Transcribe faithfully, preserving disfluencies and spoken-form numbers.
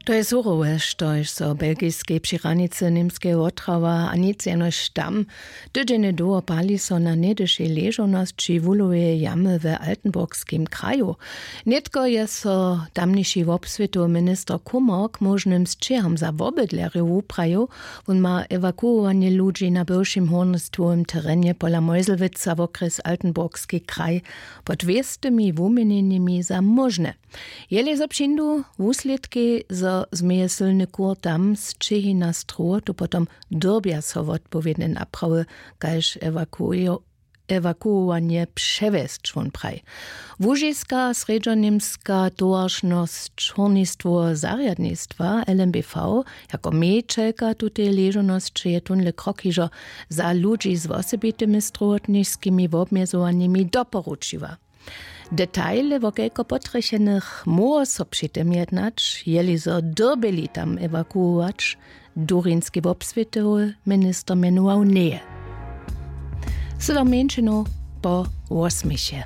To je surowe, štož so w belgiskej při hranicy němskeje wotrawa a nic jenož tam. Tydźenje dołho pali so na něhdyšej ležownosći wuhloweje jamy w altenburgskim kraju. Nětko je so tamniši wobswětowy minister kummer k móžnym sćěhom za wobydlerjow wuprajił. Wón ma ewakuowanje ludźi na bywšim hórnjestwowym terenje pola meuselwitza wokrjes altenburgski kraj pod wěstymi wuměnjenjemi za móžne. Jeli zo přińdu wuslědki, zo změje sylny kur tam sćěhi na strowotu, potom dyrbja so wotpowědne naprawy kaž ewakuowanje přewjesć, wón praji. Łužiska srjedźoněmska towaršnosć hórnistwoweho zarjadnistwa lmbv jako mějićelka tuteje ležownosće je tónle krok hižo za ludźi z wosebitymi strowotniskimi wobmjezowanjemi doporučiła. Detaile wo kelko potrjechenych móhło so při tym jednać, jeli zo dyrbjeli tam ewakuować, durinski wobswětowy minister mjenował njeje. Sylom mjeńšinow po wosměchje.